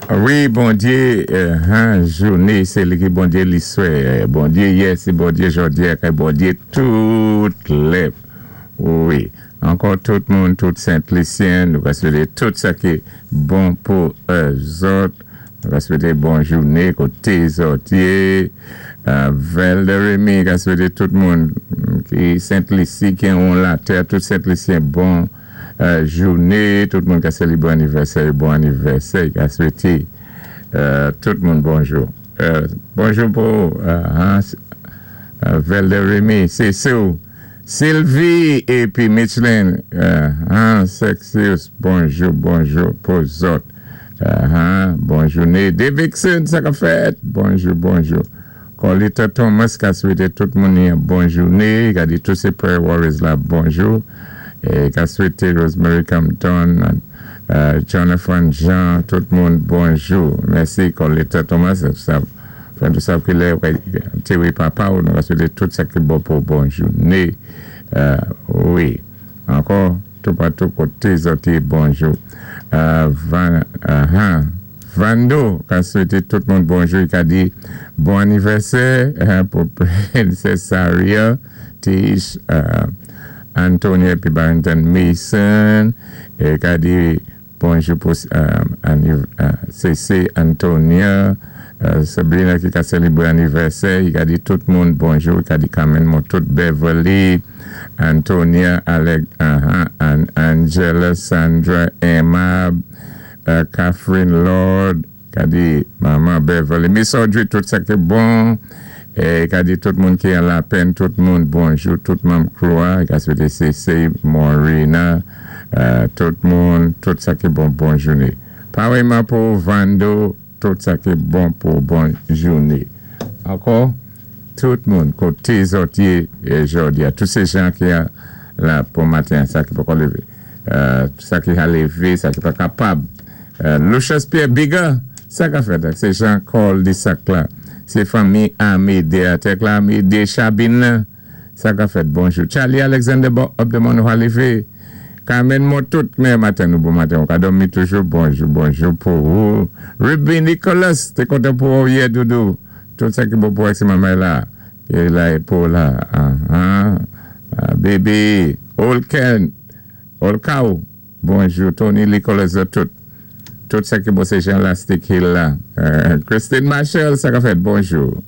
Wi, Bondyé jouné, sé li ki Bondyé liswè, Bondyé yè, sé Bondyé jòdi-a, kay Bondyé tout lè. Wi, ankò tout moun, tout Sent Lisyen, nou ka swété tout sa ki bon pou zòt, nou ka swété bon jouné koté zòt yé. Velder Remy ka swété tout moun ki Sent Lisi, ki anwo latè, tout Sent Lisyen bon jouné, tout moun ka sélébré anivèsè yo bon anivèsè, i ka swété tout moun bonjou. Bonjou pou Velder Remy, sé Sue, Sylvie épi Micheline Sexius, bonjou, bonjou pou zòt. Bon jouné. Davidson, sa ka fèt? Bonjou, bonjou. Corlita Thomas ka swété tout moun yon bon jouné, ka di tout sé prayer warriors la bonjou, é ka swété Rosemary Campton, Jonathan Jean, tout moun bonjou. Mèsi Corlita Thomas, sa fè nou sav ki lè ou ka antéwé papa ou, nou ka swété tout sa ki bon pou bon jouné. Wi, ankò toupatou koté zòt yé bonjou. Van, Vando ka swété tout moun bonjou, i ka di bon anivèsè pou Princess Saria, Tish, Antonia épi Barrington Mason, é ka di bonjou pou Cece Antonia, Sabrina ki ka sélébré anivèsè, i ka di tout moun bonjou, i ka di Carmen Montout, Beverly, Antonia, Alec, Angela, Sandra, Emma, Catherine Lord, ka di manman Beverly, Miss Audrey, tout sa ki bon, é ka di tout moun ki an lapenn, tout moun bonjou, tout manm crew a, ka swété Cece, Morena, tout moun, tout sa ki bon, bon jouné. Paréyman pou Vando, tout sa ki bon pou bon jouné. Ankò, tout moun koté zòt yé jòdi a, tout sé jan ki la pou maten sa ki poko lévé, sa ki ka lévé, sa ki pa kapab. Lucius Pierre Bigger, sa ka fèt? Sé Jean Col di sak la, sé fanmi Amédée a Tekla Amédée Chabine nan, sa ka fèt? Bonjou. Charlie Alexander bò up de moun ou lévé. Carmen Montout, men maten nou bon maten, ou ka dòmi toujou, bonjou, bonjou pou ou. Ruby Nicholas, té kontan pou ou yè doudou. Tout sa ki bon pou ou sé manman la. É la é pou la. Baby, Olken, Olkaou, bonjou. Tony Nicholas tout. Tout sa ki bon sé Jean Lastic Hill la. Christine Marshall, sa ka fèt, bonjou.